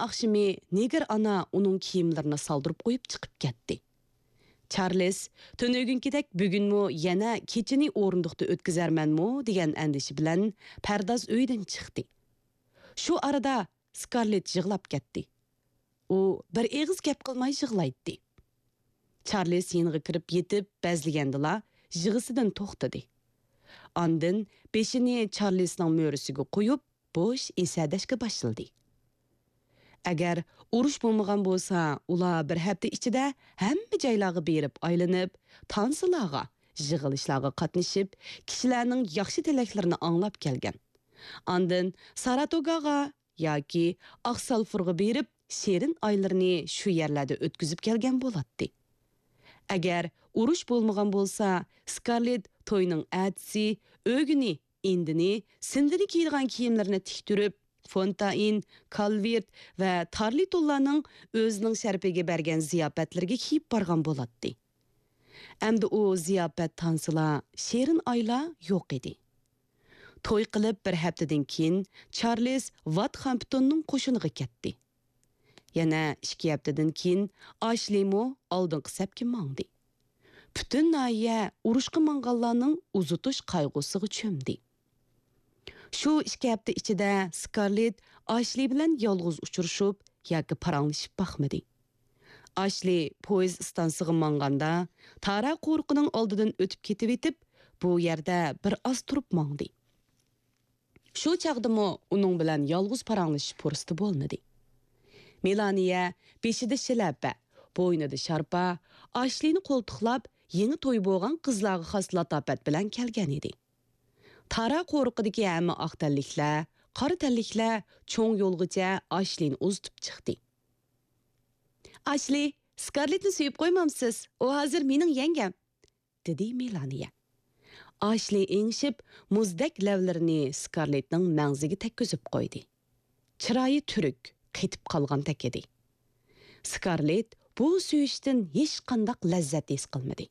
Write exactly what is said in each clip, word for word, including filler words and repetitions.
ئاخشىمى نېگىر ئانا ئۇنىڭ كىيىملىرىنى سالدۇرۇپ قويۇپ چىقىپ كەتتى. چارلىس تۈنۈگۈنكىدەك بۈگۈنمۇ يەنە كېچىنى ئورۇندۇقتا ئۆتكۈزەرمەنمۇ دېگەن ئەندىشە بىلەن پەرداز ئۆيدىن چىقتى. شۇ ئارىدا سكارلېت يىغلاپ كەتتى. ئۇ بىر ئېغىز گەپ قىلماي يىغلايتتى. چارلىس يېنىغا كىرىپ يېتىپ بەزلىگەندىلا يىغىسىدىن توختىدى. ئاندىن بېشىنى چارلىسنىڭ مۈرىسىگە قويۇپ، بوش ئېسەدەشكە باشلىدى. ئەگەر ئۇرۇش بولمىغان بولسا، ئۇلار بىر ھەپتە ئىچىدە ھەممە جايلارغا بېرىپ ئايلىنىپ، تانسىلارغا، يىغىلىشلارغا قاتنىشىپ، كىشىلەرنىڭ ياخشى تىلەكلىرىنى ئاڭلاپ كەلگەن. ئاندىن ساراتوگاغا ياكى ئاقسالفۇرغا بېرىپ، شېرىن ئايلىرىنى شۇ يەرلەردە ئۆتكۈزۈپ كەلگەن بولاتتى. ئەگەر ئۇرۇش بولمىغان بولسا، سكارلېت توينىڭ ئەتىسى ئۆگىنى، ئىندىنى، سىندىنى كىيىدىغان كىيىملىرىنى تىكتۈرۈپ، فونتائىن، كالۋېرت ۋە تارلىتونلارنىڭ ئۆزىنىڭ شەرىپىگە بەرگەن زىياپەتلىرىگە كىيىپ بارغان بولاتتى. ئەمدى ئۇ زىياپەت، تانسىلار، شېرىن ئايلار يوق ئىدى. توي قىلىپ بىر ھەپتىدىن كېيىن، چارلىز ۋات خامپتوننىڭ قوشۇنىغا كەتتى. يەنە ئىككى ھەپتىدىن كېيىن، ئاشلىمۇ ئالدىنقى سەپكە ماڭدى. پۈتۈن ناھىيە ئۇرۇشقا ماڭغانلارنىڭ ئۇزىتىش قايغۇسىغا چۆمدى. شۇ ئىككى ھەپتە ئىچىدە سكارلېت ئاشلى بىلەن يالغۇز ئۇچرىشىپ ياكى پاراڭلىشىپ باقمىدى. ئاشلى پويىز ئىستانسىغا ماڭغاندا، تارا قورۇقىنىڭ ئالدىدىن ئۆتۈپ كېتىۋېتىپ، بۇ يەردە بىر ئاز تۇرۇپ ماڭدى. شۇ چاغدىمۇ ئۇنىڭ بىلەن يالغۇز پاراڭلىشىش پۇرسىتى بولمىدى. مېلانىيە بېشىدا شىلەپە، بوينىدا شارپا، ئاشلىنى قولتۇقلاپ، يېڭى توي بولغان قىزلارغا خاس لاتاپەت بىلەن كەلگەن ئىدى. تارا قورۇقىدىكى ھەممە ئاق تەنلىكلەر، قارا تەنلىكلەر چوڭ يولغىچە ئاشلىنى ئۇزىتىپ چىقتى. «ئاشلى، سكارلېتنى سۆيۈپ قويمامسىز؟ ئۇ ھازىر مېنىڭ يەڭگەم.» دېدى مېلانىيە. ئاشلى ئېڭىشىپ، مۇزدەك لەۋلىرىنى سكارلېتنىڭ مەڭزىگە تەگكۈزۈپ قويدى. چىرايى تۈرۈك، قېتىپ قالغاندەك ئىدى. سكارلېت بۇ سۆيۈشتىن ھېچقانداق لەززەت ھېس قىلمىدى.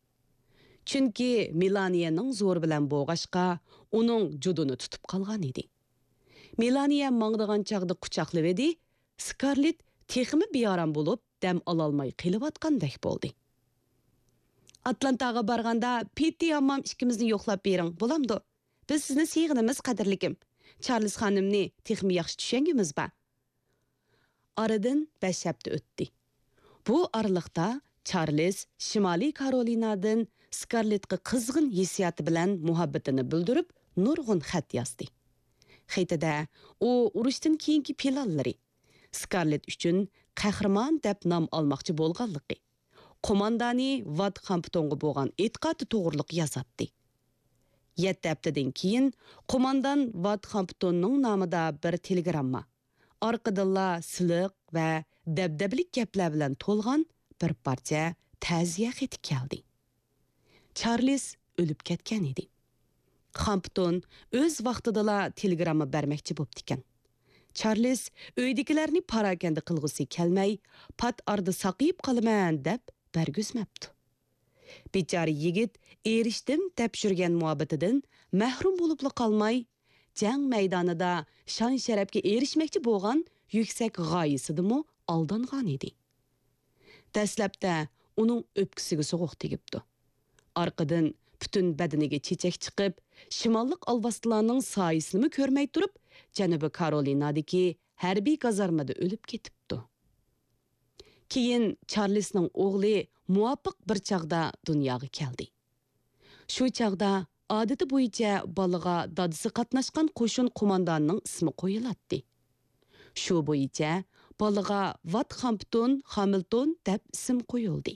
چۈنكى مېلانىيەنىڭ زورى بىلەن بوغاشقا، ئۇنىڭ جۇدۇنى تۇتۇپ قالغان ئىدى. مېلانىيە ماڭىدىغان چاغدا قۇچاقلىۋىدى، سكارلېت تېخىمۇ بىئارام بولۇپ، دەم ئالالماي قېلىۋاتقاندەك بولدى. «ئاتلانتاغا بارغاندا پېتتى ھاممام ئىككىمىزنى يوقلاپ بېرىڭ، بولامدۇ؟ بىز سىزنى سېغىنىمىز، قەدىرلىكىم. چارلىز خانىمنى تېخىمۇ ياخشى چۈشەنگۈمىز بار.» ئارىدىن بەش ھەپتە ئۆتتى. بۇ ئارىلىقتا چارلىز شىمالىي كارولىنادىن سكارلېتقا قىزغىن ھېسسىياتى بىلەن مۇھەببىتىنى بىلدۈرۈپ، نۇرغۇن خەت يازدى. خېتىدە ئۇ ئۇرۇشتىن كېيىنكى پىلانلىرى، سكارلېت ئۈچۈن قەھرىمان دەپ نام ئالماقچى بولغانلىقى، قوماندانى ۋات خامپتونغا بولغان ئېتىقادى توغرۇلۇق يازاتتى. يەتتە ھەپتىدىن كېيىن قوماندان ۋات خامپتوننىڭ نامىدا بىر تېلېگرامما، ئارقىدىنلا سىلىق ۋە دەبدەبىلىك گەپلەر بىلەن تولغان بىر پارچە تەزىيە خېتى كەلدى. چارلىز ئۆلۈپ كەتكەن ئىدى. خامپتون ئۆز ۋاقتىدىلا تېلېگرامما بەرمەكچى بوپتىكەن. چارلىز ئۆيدىكىلەرنى پاراكەندە قىلغۇسى كەلمەي، پات ئارىدا ساقىيىپ قالىمەن دەپ بەرگۈزمەپتۇ. بىچارە يىگىت ئېرىشتىم دەپ يۈرگەن مۇھەببىتىدىن مەھرۇم بولۇپلا قالماي، جەڭ مەيدانىدا شان-شەرەپكە ئېرىشمەكچى بولغان يۈكسەك غايىسىدىمۇ ئالدانغان ئىدى. دەسلەپتە ئۇنىڭ ئۆپكىسىگە سوغۇق تېگىپتۇ. ئارقىدىن پۈتۈن بەدىنىگە چېچەك چىقىپ، شىماللىق ئالۋاستىلارنىڭ سايىسىنىمۇ كۆرمەي تۇرۇپ، جەنۇبىي كارولىنادىكى ھەربىي گازارمىدا ئۆلۈپ كېتىپتۇ. كېيىن چارلىسنىڭ ئوغلى مۇۋاپىق بىر چاغدا دۇنياغا كەلدى. شۇ چاغدا ئادىتى بويىچە بالىغا دادىسى قاتناشقان قوشۇن قوماندانىنىڭ ئىسمى قويۇلاتتى. شۇ بويىچە بالىغا ۋات خامپتون خامىلتون دەپ ئىسىم قويۇلدى.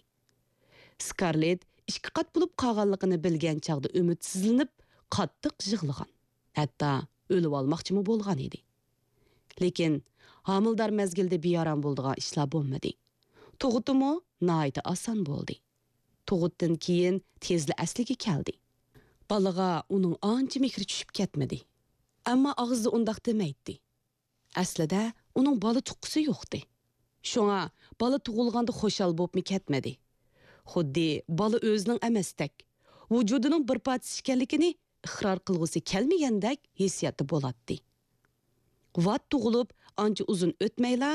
سكارلېت ئىككى قات بولۇپ قالغانلىقىنى بىلگەن چاغدا ئۈمىدسىزلىنىپ، قاتتىق يىغلىغان، ھەتتا ئۆلۈۋالماقچىمۇ بولغان ئىدى. لېكىن ھامىلىدار مەزگىلدە بىئارام بولىدىغان ئىشلار بولمىدى. تۇغۇتىمۇ ناھايىتى ئاسان بولدى. تۇغۇتتىن كېيىن تېزلا ئەسلىگە كەلدى. بالىغا ئۇنىڭ ئانچە مېھرى چۈشۈپ كەتمىدى. ئەمما ئاغزىدا ئۇنداق دېمەيتتى. ئەسلىدە ئۇنىڭ بالا تۇغقۇسى يوقتى. شۇڭا بالا تۇغۇلغاندا خۇشال بوپمۇ كەتمىدى. خۇددى بالا ئۆزىنىڭ ئەمەستەك، ۋۇجۇدىنىڭ بىر پارچىسى ئىكەنلىكىنى ئىقرار قىلغۇسى كەلمىگەندەك ھېسسىياتتا بولاتتى. ۋات تۇغۇلۇپ ئانچە ئۇزۇن ئۆتمەيلا،